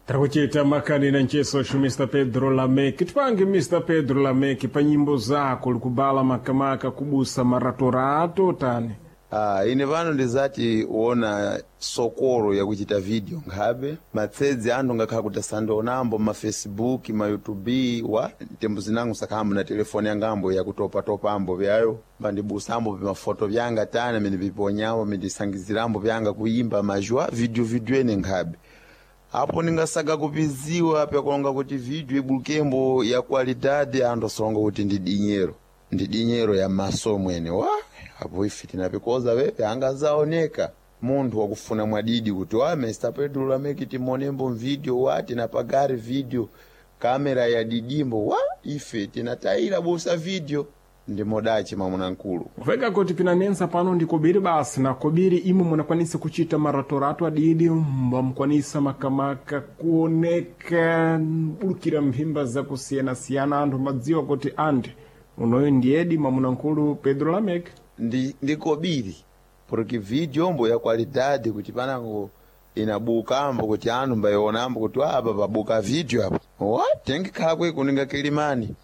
Takuchita makani na ncheso Mr. Pedro Lameki. Tipange Mr. Pedro Lameki pa nyimbo zako likubala makamaka kubusa maratorato tani. Ah, ine pano ndizati uona sokolo yakuchita video nkhabe matsedzi anthu ngakhala kuti asandionambo ma Facebook, ma YouTube, wa tembo zinango sakhambo na telefoni yangambo yakutopatopambo vyayo pandibusambo pimafoto vyanga tani amene piponyambo mindisangizirambo vyanga kuyimba majwa video video ene nkhabe apo ningasaga kupiziwa pyakulonga kuti video ibulukembo ya qualidade anthu asolonga kuti ndi dinyero, ndi dinyero ya maso mwene wa apo ife tinapikoza wepe angazaoneka munthu wakufuna mwadidi kuti wa Mr. Pedro Lameki timonembo video wa tinapagari video kamera ya didimbo wa ife tinatayira busa video ndi modachi mwamuna nkulu. Kuveka kuti pinanensa pano ndi kobiri basi na kobiri imwe munakwanisa kuchita maratorato adidi mbamukwanisa makamaka kuoneka bulukira mphimba zakusiyanasiyana anthu madziwa kuti andi unoyo ndiyedi mwamuna nkulu Pedro Lameki. Ndi kobiri porque video mbo ya qualidade kuti panango inabukambo kuti anthu mbayionambo kuti apa pabuka video apo wa tengikhala kwe kuninga kilimani.